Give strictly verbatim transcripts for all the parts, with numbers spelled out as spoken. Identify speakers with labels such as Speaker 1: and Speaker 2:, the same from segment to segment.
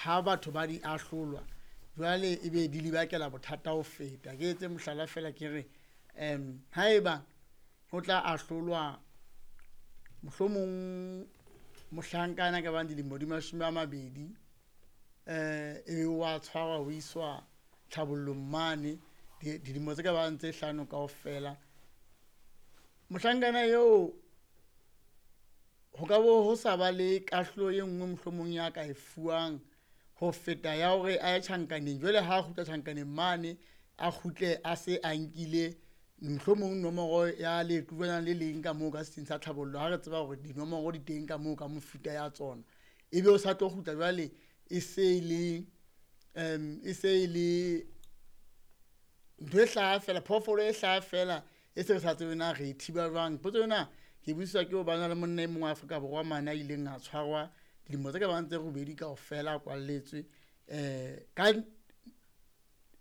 Speaker 1: Ha batho ba di ahlolwa jwale ebe di lebakela bothata ho feta. Ke etse mohlala fela ke re um haeba ho tla ahlolwa mohlomong mohlankana ka bang dilemo di mashome a mabedi, um ebe wa tshwarwa ho iswa tlhabollong mane dilemo tse ka bang tse hlano kaofela. Mohlankana eo ho ka bo ho sa ba le kahlolo e nngwe mohlomong ya ka e fuwang ho feta ya hore a ye tjhankaneng. Jwale ha a kgutla tjhankaneng mane, a kgutle a se a nkile mohlomong nomoro ya lequlwana le leng ka moo ka setsing sa tlhabollo. Ha re tseba hore dinomoro di teng ka moo ka mefuta ya tsona, ebe o sa tlo kgutla jwale e se le um e se le ntho e hlaha fela, phoofolo e hlaha fela e se re sa tsebe na re e thiba jwang. Potso ena ke buiswa ke hobane le monna e mong wa Afrika Borwa mane a ileng a tshwarwa dilemo tse ka bang tse robedi kaofela a kwalletswe um ka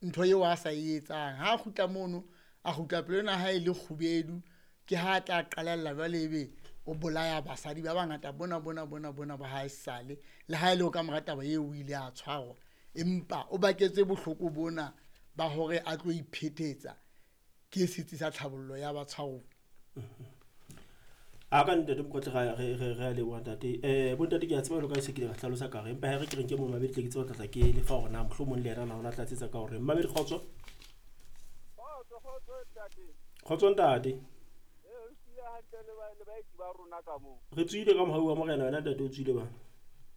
Speaker 1: ntho eo a sa e etsang. Ha a kgutla mono, a kgutla pelo ena ha e le kgubedu, ke ha a tla qalella jwale ebe o bolaya basadi ba bangata bona bona bona bona ba haesale. Le ha e le ho ka mora taba eo o ile a tshwarwa, empa o baketse bohloko bona ba hore a tlo iphetetsa ke setsi sa tlhabollo ya batshwaruwa.
Speaker 2: A ka ntate Mokotla re re re re a leboha ntate. Eh bontate ke a tseba jwalo ka ha se ke le hlalosa ka re empa ha re ke re nke momamedi tle ke tsebe ho tlatla ke lefa hore na mohlomong le yena na o na tlatsetsa ka hore mmamedi kgotso.
Speaker 3: Kgotso, kgotso ntate.
Speaker 2: Kgotso ntate.
Speaker 3: Eh, re tswile hantle le ba le baeti ba rona ka moo.
Speaker 2: Re tswile ka mohau wa morena wena ntate o tswile bana.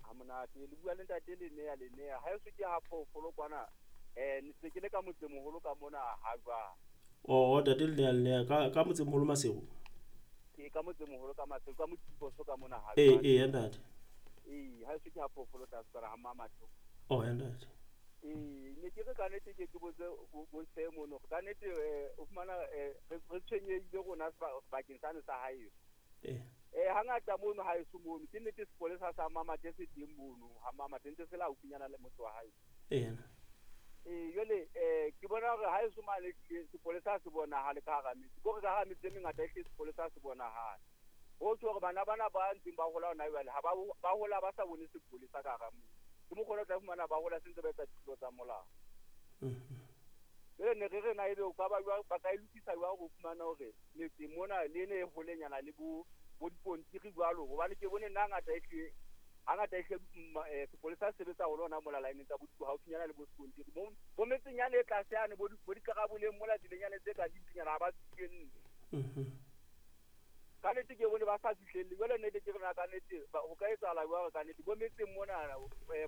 Speaker 3: Ha monate le bua le ntate Lenea Lenea. Ha eso ke ha phoofolo kwana. Eh ne se ke le ka motsemoholo ka mona ha jwang.
Speaker 2: Oh ntate Lenea Lenea ka ka motsemoholo Maseru.
Speaker 3: Ke ka motsemoholo ka Maseru ka Motiposo ka mona ha
Speaker 2: Eh
Speaker 3: jwang.
Speaker 2: eh ntate.
Speaker 3: Eh ha eso ke ha phoofolo tlase kwana ha Mmamatho.
Speaker 2: Oh ntate.
Speaker 3: Eh ne ke re ka nnete ke ke botse bo bo se mono ka nnete eh o fumana eh re re tshwenyehile rona sebakeng sane sa haeso.
Speaker 2: Eh.
Speaker 3: Eh hangata mono haeso mono ke nnete sepolesa sa Mmamathe se teng mono ha Mmamathe ntse se la haufinyana le motse wa haeso.
Speaker 2: Eh.
Speaker 3: Eh jwale eh ke bona hore haeso mane sepolesa se bonahale ka hara metse. Ke hore ka hara metse e mengata ehlile sepolesa se bonahale. Ho tjho hore bana bana ba ntseng ba hola hona jwale ha ba ba hola ba sa bone sepolesa ka hara motse. Ke mokgwa o tla fumana ba hola se ntse ba etsa dithuto tsa molao. Jwale ne re re na ebe o ka ba jwang ba ka e lokisa jwang ho fumana hore metse mona le ene e holenyana le bo bo dipontiri jwalo hobane ke bone nna hangata ehlile hangata ehlile sepolesa se sebetsa haholo hona mola line tsa bo haufinyana le bo sekontiri. Bo bo metseng yane e tlase yane bo bo dikaraboleng mola tseleng yane tse ka dimpinyana ha ba fihlelle. Ka nnete ke bone ba sa fihlelle. Jwale nnete ke re na ka nnete ho ka etsahala jwang ka nnete bo metseng mona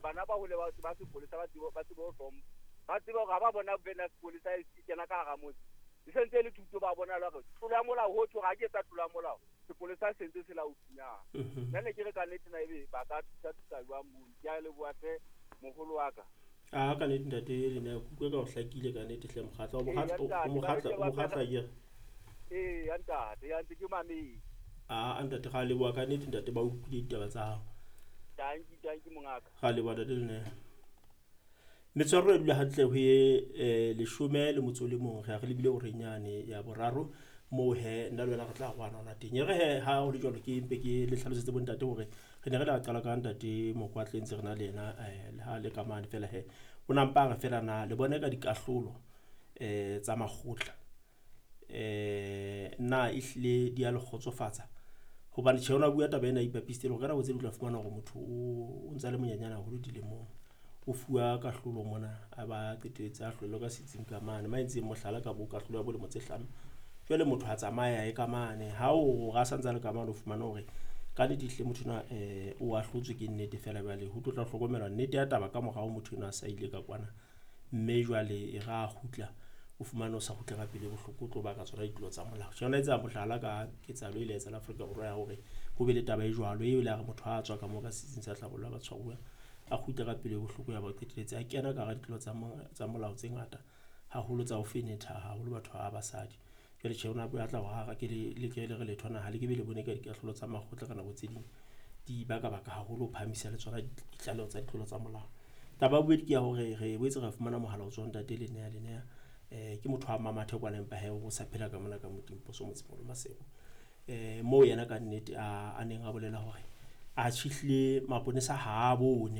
Speaker 3: bana ba hole ba ba sepolesa ba tsebe ba tsebe ho hlompha. Ba tsebe hore ha ba bona bena sepolesa e kena ka hara motse. E sentse le thuto ba bona hore tlolo ya molao ho tjho ha ke etsa tlolo ya molao. Sepolesa se ntse se la haufinyana. Nna ne ke re ka nnete na ebe ba ka thusa thusa jwang mono. Ke a leboha hle moholo wa ka.
Speaker 2: A ka nnete ntate Lenea ke utlwe ka o hlakile ka nnete hle mokgatla o mokgatla o mokgatla o mokgatla ke re.
Speaker 3: Eh ya ntate ya ntse ke mametse.
Speaker 2: A ntate ra leboha ka nnete ntate ba utlwile ditaba tsa hao.
Speaker 3: Danki danki mongaka.
Speaker 2: Ra leboha ntate Lenea. Metswaro e dula hantle ho ye leshome le motso le mong re a re lebile horeng yane ya boraro moo he nna le wena re tla rwana hona teng. E re he ha ho le jwalo ke mpe ke le hlalosetse bontate hore re ne re la qala ka ntate Mokwatle ntse re na le yena le ha le ka mane fela he o na mpa re fela na le bone ka dikahlolo eh tsa makgotla eh na ehlile di a le kgotsofatsa hobane tjhe ona bua taba ena ipapisitse hore ka nako tse ding o tla fumana hore motho o ntsa le monyenyane haholo dilemong o fuwa kahlolo mona a ba qetelletse a hlolwe ka setsing ka mane ma entseng mohlala ka bo kahlolo ya bolemo tse hlano. Jwale motho ha tsamaya e ka mane ha o ra santsa le ka mane o fumana hore ka nnete ehlile motho enwa eh o ahlotswe ke nnete fela jwale ho tlo tla hlokomelwa nnete ya taba ka morao motho enwa a sa ile ka kwana mme jwale e ra kgutla o fumane o sa kgutla ka pele bohloko o tlo baka tsona ditlolo tsa molao. Tjhe ona etsa mohlala ka ketsahalo e ile ya etsahala Afrika Borwa ya hore ho be le taba e jwalo eo ile ya re motho ha a tswa ka moo ka setsing sa tlhabollo ya batshwaruwa a kgutla ka pele bohloko ya ba qetelletse a kena ka hara ditlolo tsa tsa molao tse ngata haholo tsa ho fenetha haholo batho ba basadi. Jwale tjhe ona batla hore ha ke le le ke le re letho na ha le ke be le bone ka dikahlolo tsa makgotla ka nako tse ding di baka baka haholo ho phahamisa le tsona ditlaleho tsa ditlolo tsa molao. Taba ya bobedi ke ya hore re boetse ra fumana mohala o tswang ntate Lenea Lenea eh ke motho wa Mmamathe kwana empa he o sa phela ka mona ka Motimposo motsemoholo Maseru. Eh moo yena ka nnete a a neng a bolela hore a tjhihlile maponesa ha a bone